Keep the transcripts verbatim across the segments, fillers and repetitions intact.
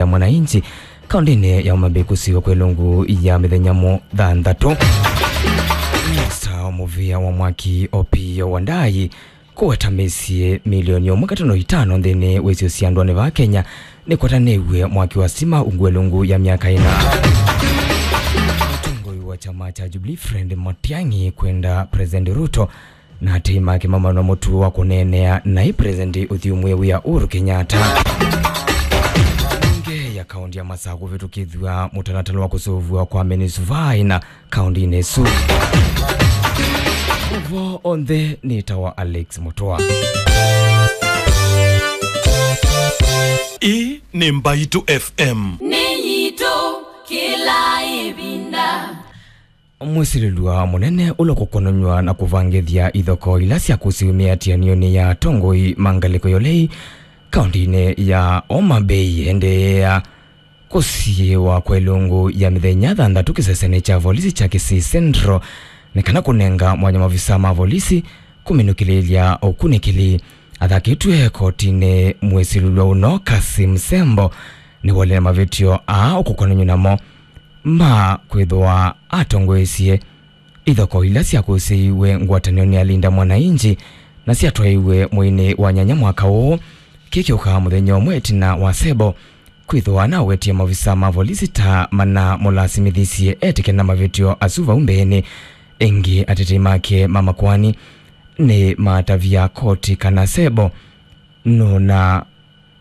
ya Mwananchi kaũntĩnĩ ya Homa Bay kũsiw'a kwa ĩlungu ya mĩthenya mũthanthatũ. Minista wa mũvĩa wa mwaki Opiyo Wandayi kũweta mĩsyĩ milioni ũmwe katono itano nthĩnĩ wa isio sya ndũanĩ vaa Kenya nĩkwatanĩw'e mwaki wa sitima ungu wa ĩlungu ya myaka ĩna. Mũtongoi wa kyama kya Jubilee Fred Matiang'i kwenda President Ruto na atei make mamanwa mũtuo wa kũneenea naĩ President ũthyũmũe wĩa Uhuru Kenyatta. Mbunge ya kaũntĩ ya Masaku kũvĩtũkĩthw'a mũtalatala wa kũsũvw'a kwa mĩnĩsuvai na kaũntĩnĩ ĩsu. Ũvoo onthe nĩtawa Alex Mũtũa. Ĩĩ nĩ Mbaitũ F M. Nĩ yitũ kĩla ĩvinda. Mwĩsilĩlw'a mũnene ũla ũkũkonany'a na kũvangĩthya ithokoo ila sya kũsiw'e mĩatĩanĩonĩ ya atongoi ma ngalĩko ya ũlei kaũntĩnĩ ya Homa Bay endeea kũsiĩwa kwa ĩlungu ya mĩthenya thanthatũ kĩsesenĩ kya volisi kya Kisii Central nĩ kana kũnenga mwanya mavisaa ma volisi kũminũkĩlĩĩlya ũkunĩkĩli. Athakĩtw'e kotinĩ, mwĩsilĩlw'a ũno Kasim Sembo nĩwolile mavĩtyo aa ũkũkonany'a namo ma kwĩthĩwa atongoesye ithokoo ila syakũsĩiwe ngwatanĩonĩ ya Linda Mwananchi na syatwaiwe mweinĩ wa nyanya mwaka ũũ, kĩĩ kĩũkaa mũthenya ũmwe ĩtina wa Sembo kwĩthĩwa nawetie maovisaa ma volisi ta manamũlasimĩthisye etĩkĩle na mavĩtyo asu vau mbeenĩ. Ĩngĩ, atetei make ma makoani nĩmatavya koti kana Sembo nũna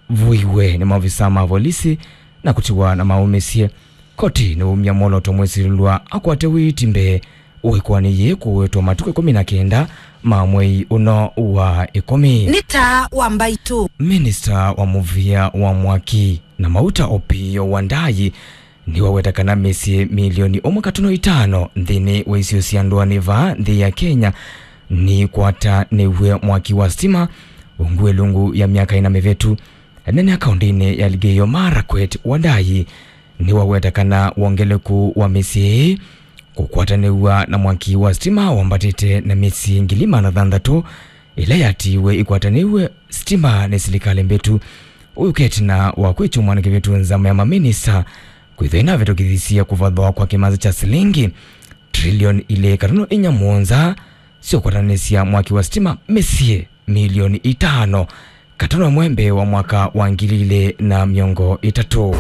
vuiwe nĩ maovisaa ma volisi na kũtiwa na maũmĩsye. Koti nĩwaumya mwolooto mwĩsilĩlw'a akwate wĩiti mbee wa ĩkoani yĩĩ kũwetwa matukũ ĩkũmi na kenda ma mwei ũno wa ĩkũmi. Nĩ taa wa Mbaitũ. Minista wa mũvĩa wa mwaki na mauta Opiyo Wandayi nĩwaweta kana mĩsyĩ milioni ũmwe katono itano nthĩnĩ wa isio sya ndũanĩ vaa nthĩ ya Kenya nĩkwatanĩw'e mwaki wa sitima ungu ĩlungu ya myaka ĩna mĩvĩtu. Ĩnene kaũntĩnĩ ya Elgeyo Marakwet, Wandayi nĩwaweta kana wongeleku wa mĩsyĩ ĩĩ kũkwatanĩw'a na mwaki wa sitima wambatĩte na mĩsyĩ ngili maana thanthatũ ĩla yatiiwe ĩkwatanĩw'e sitima nĩ silikalĩ mbĩtu. Ũyũkĩte na wa kwĩkyumwa na kĩvĩtu nzama ya maminista kwĩthwa ĩnavĩtũkĩthisye kũvathwa kwa kĩmanza kya silingi trilioni ilĩ katono inya mũonza syokwatanĩsya mwaki wa sitima mĩsyĩ milioni itano katono ĩmwe mbee wa mwaka wa ngili ilĩ na mĩongo ĩtatũ.